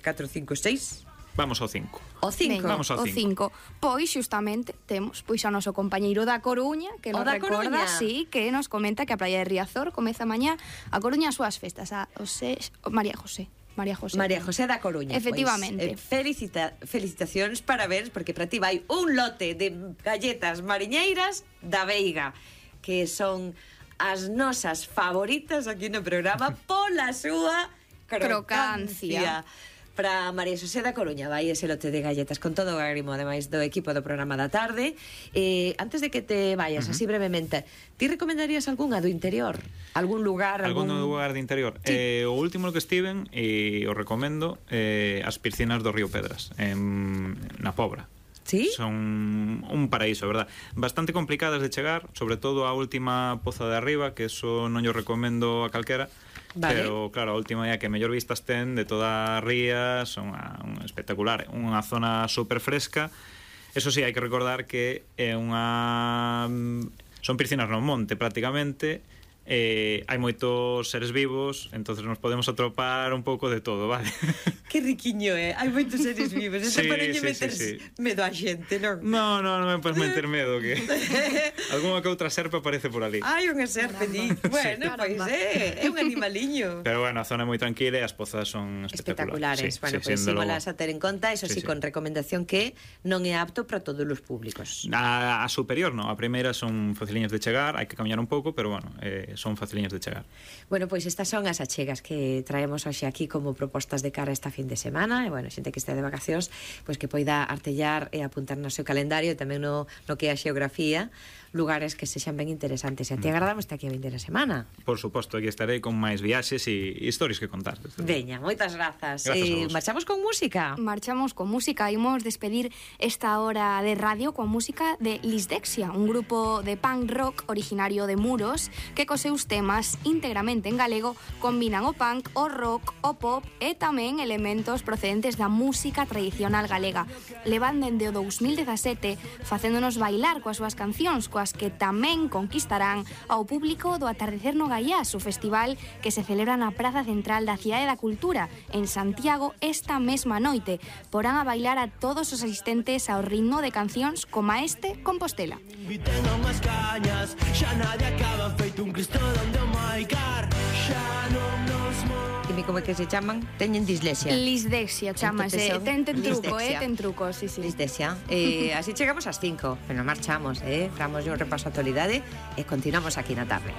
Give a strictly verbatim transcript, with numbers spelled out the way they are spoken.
catro, cinco, seis. Vamos ao cinco. O cinco. Venga, vamos ao cinco. Pois xustamente temos pois ao noso compañeiro da Coruña, que nos recorda, sí, que nos comenta que a praia de Riazor comeza mañá a Coruña as súas festas, a José, María José. María José. María José da Coruña. Efectivamente. Pois, eh, felicita, felicitacións, parabéns, porque para ti vai un lote de galletas mariñeiras da Veiga, que son as nosas favoritas aquí no programa pola súa crocancia. crocancia. Para María José da Coruña vai ese lote de galletas con todo o agrimo, ademais do equipo do programa da tarde. Eh, antes de que te vayas, uh-huh. así brevemente, ti recomendarías algunha do interior? Algún lugar? Algún, algún lugar de interior? Sí. Eh, o último que estiven, e o recomendo, eh, as piscinas do Río Pedras, en, na Pobra. ¿Sí? Son un paraíso, verdad? Bastante complicadas de chegar, sobre todo a última poza de arriba, que eso non yo recomendo a calquera. Vale. Pero claro, a última é que mellor vistas ten de toda a ría, son a, un espectacular, unha zona super fresca. Eso sí, hai que recordar que é unha son piscinas no monte prácticamente. Eh, hai moitos seres vivos, entonces nos podemos atropar un pouco de todo, vale? Que riquiño, eh? Hai moitos seres vivos. Este sí, para sí, meter sí, sí. medo a xente, non? No, no, non me podes meter medo, que algunha que outra serpe aparece por ali. Hai unha serpe, di. Bueno, sí. Pois é, é un animaliño. Pero bueno, a zona é moi tranquila e as pozas son espectaculares. Espectaculares. Sí, bueno, sí, pois pues, símolas a ter en conta, eso sí, sí, con sí. recomendación que non é apto para todos os públicos. A, a superior, no. A primeira son faciliñas de chegar, hai que camiñar un pouco, pero bueno, eh, son faciliñas de chegar. Bueno, pois estas son as achegas que traemos hoxe aquí como propostas de cara a esta fin de semana, e bueno, xente que está de vacacións, pois que poida artellar e apuntar no seu calendario e tamén no, no que é a xeografía, lugares que sexan ben interesantes. E a ti agradamos aquí a vindeira semana. Por suposto, aquí estarei con máis viaxes e historias que contar. Veña, moitas grazas. Eh, marchamos con música. Marchamos con música, imos despedir esta hora de radio con música de Lisdexia, un grupo de punk rock originario de Muros que cos seus temas íntegramente en galego combinan o punk, o rock, o pop e tamén elementos procedentes da música tradicional galega. Levan dende o dous mil dezasete facéndonos bailar coas súas cancións, coas que tamén conquistarán ao público do Atardecer no Gaiás, o festival que se celebra na Praza Central da Cidade da Cultura en Santiago esta mesma noite. Porán a bailar a todos os asistentes ao ritmo de cancións como este Compostela. Inviten a unhas cañas, xa nadie acaba feito un cristo donde o maicar, xa non nos move. Dime como é que se chaman? Teñen dislexia. Lisdexia, chamase. Ten, ten truco, eh, ten truco, sí, sí. Lisdexia. Eh, así chegamos ás cinco, pero marchamos, eh. Damos un repaso a actualidade e continuamos aquí na tarde.